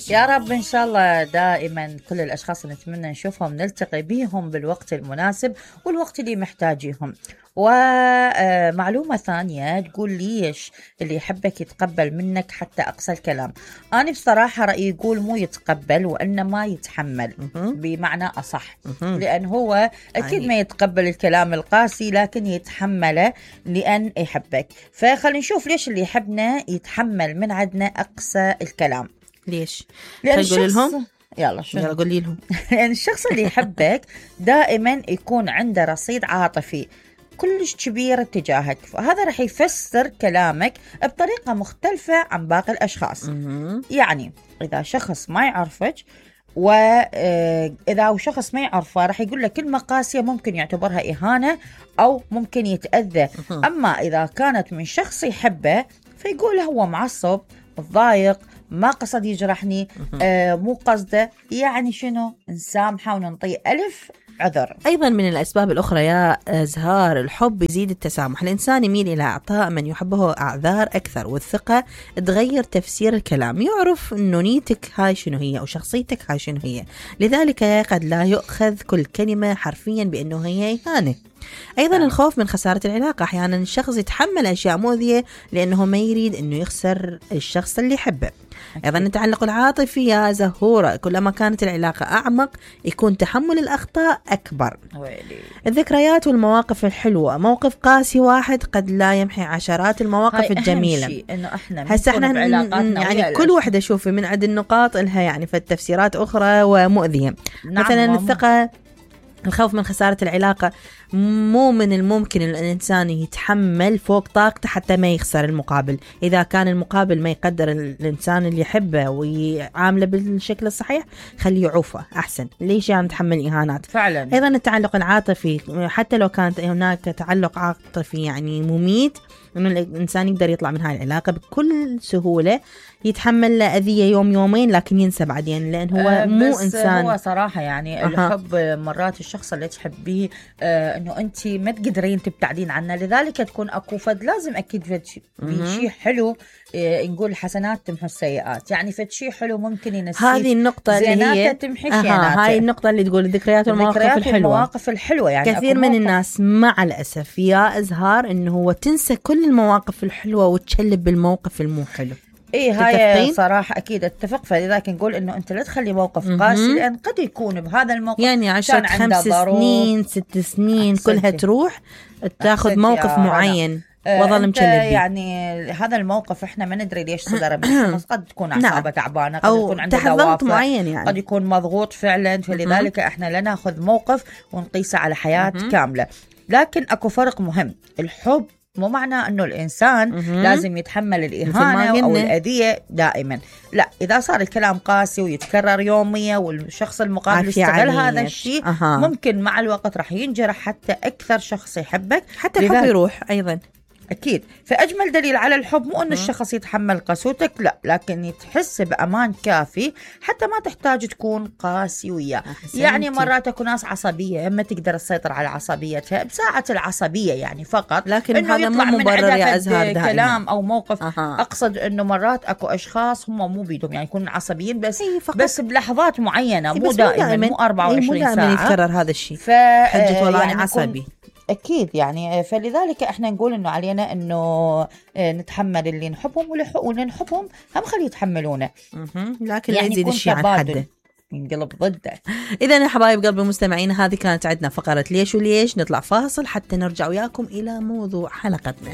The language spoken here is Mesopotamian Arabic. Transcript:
يا رب إن شاء الله دائما كل الأشخاص اللي نتمنى نشوفهم نلتقي بيهم بالوقت المناسب والوقت اللي محتاجيهم. ومعلومة ثانية تقول ليش اللي يحبك يتقبل منك حتى أقصى الكلام. أنا بصراحة رأيي يقول مو يتقبل وإنما يتحمل بمعنى أصح، لأن هو أكيد ما يتقبل الكلام القاسي لكن يتحمله لأن يحبك. فخلينا نشوف ليش اللي يحبنا يتحمل من عندنا أقصى الكلام. ليش؟ لأن قولي لهم. يلا قولي لهم. لأن الشخص اللي يحبك دائما يكون عنده رصيد عاطفي كلش كبير تجاهك، فهذا رح يفسر كلامك بطريقة مختلفة عن باقي الأشخاص. يعني إذا شخص ما يعرفك وإذا شخص ما يعرفه رح يقول لك كلمة قاسية ممكن يعتبرها إهانة أو ممكن يتأذى. أما إذا كانت من شخص يحبه فيقول هو معصب ضايق ما قصد يجرحني مو قصده، يعني شنو نسامحه وننطيه ألف عذر. أيضا من الأسباب الأخرى يا زهار الحب يزيد التسامح. الإنسان يميل إلى إعطاء من يحبه أعذار أكثر، والثقة تغير تفسير الكلام، يعرف أنه نيتك هاي شنو هي أو شخصيتك هاي شنو هي، لذلك قد لا يؤخذ كل كلمة حرفيا بأنه هي إهانة. أيضا الخوف من خسارة العلاقة، أحيانا الشخص يتحمل أشياء مؤذية لأنه ما يريد أنه يخسر الشخص اللي يحبه. أيضا التعلق العاطفي يا زهورة، كلما كانت العلاقة أعمق يكون تحمل الأخطاء أكبر. الذكريات والمواقف الحلوة، موقف قاسي واحد قد لا يمحي عشرات المواقف الجميلة. هسه احنا يعني كل واحدة شوفي من عند النقاط لها يعني في التفسيرات أخرى ومؤذية. مثلا الثقة، الخوف من خسارة العلاقة، مو من الممكن الإنسان يتحمل فوق طاقته حتى ما يخسر المقابل. إذا كان المقابل ما يقدر الإنسان اللي يحبه ويعامله بالشكل الصحيح خليه يعوفه أحسن. ليش يعني نتحمل إهانات فعلا. أيضا التعلق العاطفي، حتى لو كانت هناك تعلق عاطفي يعني مميت، إنه الإنسان يقدر يطلع من هاي العلاقة بكل سهولة، يتحمل أذية يوم يومين لكن ينسى بعدين، لأن هو مو إنسان. هو صراحة يعني الحب مرات الشخص اللي تحبيه إنه أنت ما تقدرين تبتعدين عنه، لذلك تكون أكو فد لازم أكيد فد شيء حلو. نقول حسنات تمحو السيئات، يعني فد شيء حلو ممكن ينسي هذه النقطة اللي هي تمحي هاي النقطة اللي تقول الذكريات والمواقف الحلوة. يعني كثير من الناس مع الأسف يا أزهار إنه هو تنسى كل المواقف الحلوة وتشلب بالموقف المو حلو. هاي صراحة أكيد اتفق. فلذلك نقول إنه أنت لا تخلي موقف قاسي، لأن قد يكون بهذا الموقف يعني 10 5 سنين 6 سنين كلها تروح تاخذ موقف معين وظل مشلب. يعني هذا الموقف احنا ما ندري ليش صدر منه، قد تكون أعصابه تعبانة، قد يكون عنده دوافع معين، يعني قد يكون مضغوط فعلا. فلذلك احنا لا ناخذ موقف ونقيسه على حياة كاملة. لكن أكو فرق مهم، الحب مو معناه أنه الإنسان لازم يتحمل الإهانة أو الأذية دائما، لا. إذا صار الكلام قاسي ويتكرر يوميا والشخص المقابل يستغل هذا الشيء ممكن مع الوقت رح ينجرح حتى أكثر شخص يحبك، حتى الحب يروح أيضا. أكيد. فأجمل دليل على الحب مو أن الشخص يتحمل قسوتك، لا، لكن تحس بأمان كافي حتى ما تحتاج تكون قاسي وياه. يعني مرات أكو ناس عصبية ما تقدر تسيطر على عصبيتها بساعة العصبية يعني فقط، لكن هذا مو مبرر يا أزهار كلام أو موقف. أقصد أنه مرات أكو أشخاص هم مو بيدهم يعني يكونوا عصبيين بس بلحظات معينة، مو دائما، مو 24 ساعة. مو دائما يتكرر هذا الشيء حجة والله يعني عصبي. أكيد يعني. فلذلك إحنا نقول إنه علينا إنه نتحمل اللي نحبهم واللي نحبهم هم خلي يتحملونه، لكن يعني لا يزيد الشيء عن حده، ينقلب ضده. إذا يا حبايب قلب المستمعين، هذه كانت عندنا فقرة ليش وليش. نطلع فاصل حتى نرجع وياكم إلى موضوع حلقتنا.